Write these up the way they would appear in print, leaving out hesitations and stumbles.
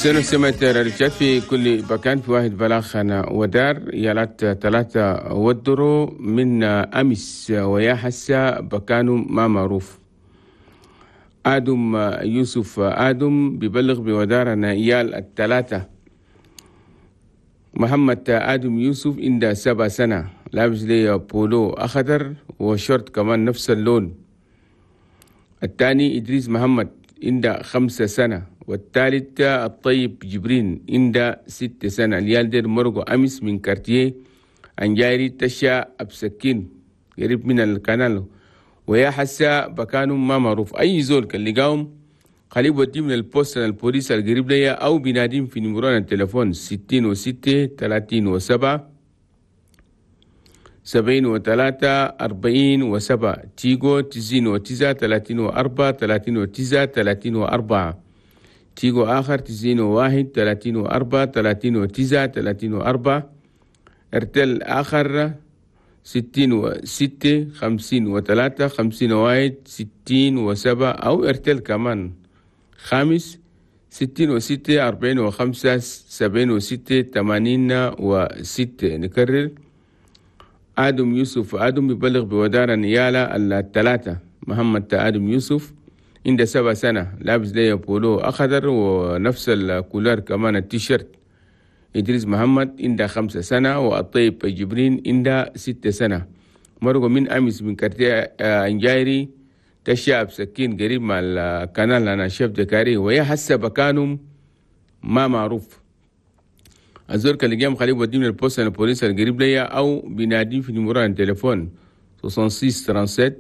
سنة رجال في كل مكان. في واحد بلاغ أنا ودار يالات 3 ودرو من أمس ويا حسا بكانوا ما معروف. آدم يوسف آدم ببلغ بودارنا إيال 3. محمد آدم يوسف عنده 7 سنة، لابس لي بولو أخضر وشورت كمان نفس اللون. الثاني إدريس محمد عنده 5 سنة، والثالث الطيب جبرين عنده 6 سنة. اليال دير مرقو أمس من quartier أنجاري تشا أبسكين قريب من ال canal، ويا حسا بكانوا ما معروف. أي زول كان لقاهم خليه بودي من ال poste البوليس القريب ليا أو بناديم في numéro التليفون 66 37 73 47 تيجو 99 34 39 34 تيجو آخر 91 34 39 34 ارتل آخر 66 53 51 67 أو ارتل كمان خامس 66 45 76 86. نكرر آدم يوسف آدم يبلغ بودار نيالة 3. محمد آدم يوسف عنده 7 سنة، لابس ليه بولو أخضر ونفس ال couleur كمان التيشيرت. إدريس محمد عنده 5 سنة، والطيب جبرين عنده 6 سنة. مرقوا من أمس من quartier أنجايري تشاب سكين قريب مع ال canal أنا chef de carré، ويا حسب بكانهم ما معروف. الزول كان لقيهم خليه بوديه من ال poste البوليس القريب ليا أو بيناديه في numéro التليفون 66 37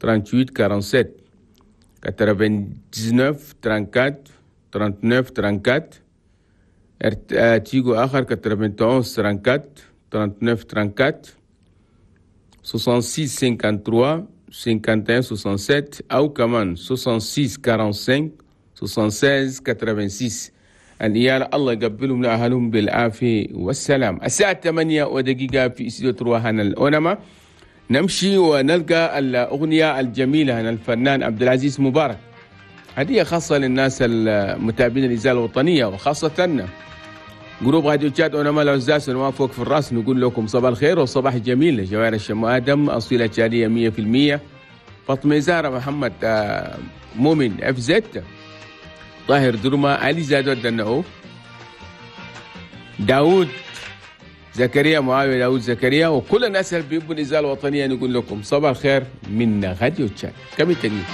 38 47 99 34 39 34 تيجو آخر 91 34 39 34 66 53 51 67 أو كمان 66 45 76 86. العيال الله يقبلهم لأهلهم بالعافية والسلام. الساعة 8:01 في استوديو تروهان الأونما. نمشي ونلقى الأغنية الجميلة هنا الفنان عبد العزيز مبارك، هدية خاصة للناس المتابعين الإذاعة الوطنية وخاصة groupe راديو تشاد أونما العزاز ونوافق في الرأس. نقول لكم صباح الخير وصباح جميل. جوار الشم آدم أصيلة تشادية 100%، فاطمة زهرة محمد مؤمن اف زد، طاهر درما، علي زادو الدنعو، داود زكريا، معاوية داود زكريا، وكل الناس اللي بيبوا الإذاعة الوطنية. نقول لكم صباح الخير من راديو تشاد. كم التقييم؟